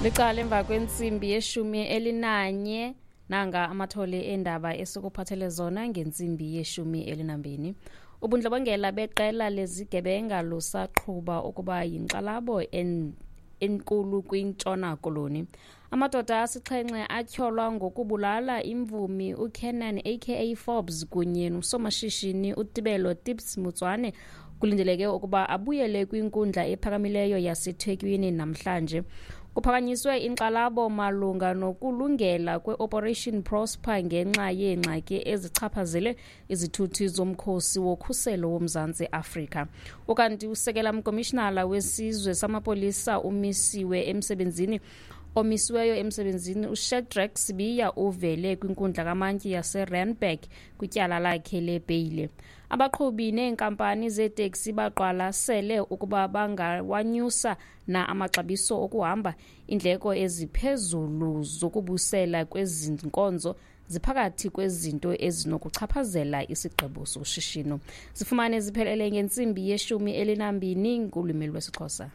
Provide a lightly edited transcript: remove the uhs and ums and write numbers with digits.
Licala emva kwentsimbi yeshumi elinanye. Nanga amathole eendaba esikuphathele zona ngentsimbi yeshumi elinambini. Ubundlobongela beqela lezigebenga lusaqhuba ukuba yinkxalabo enkulu kwiNtshona Koloni. Amadoda asixhenxe atyholwa ngokubulala imvumi uKernan aka Forbes kunye nosomashishini uTibelo Tips Motswane kulindeleke ukuba abuyele kwinkundla ephakamileyo yaseThekwini namhlanje. Kuphakanyiswe inkxalabo malunga nokulungela kwe-Operation Prosper ngenxa yeengxaki ezichaphazele izithuthi zomkhosi wokhuselo woMzantsi Afrika. Ukanti usekela mkomishinala wesizwe samapolisa umisiwe emsebenzini omisiweyo emsebenzini uShadrack Sibiya uvele kwinkundla kamantyi yaseRandburg kwityala lakhe lebheyile. Abaqhubi neenkampani zeeteksi baqwalasele ukuba bangawanyusa na amaxabiso okuhamba. Iindleko eziphezulu zokubusela kwezi nkonzo ziphakathi kwezinto ezinokuchaphazela isigqibo soshishino. Zifumane ziphelele ngentsimbi yeshumi elinambini ngolwimi lwesiXhosa.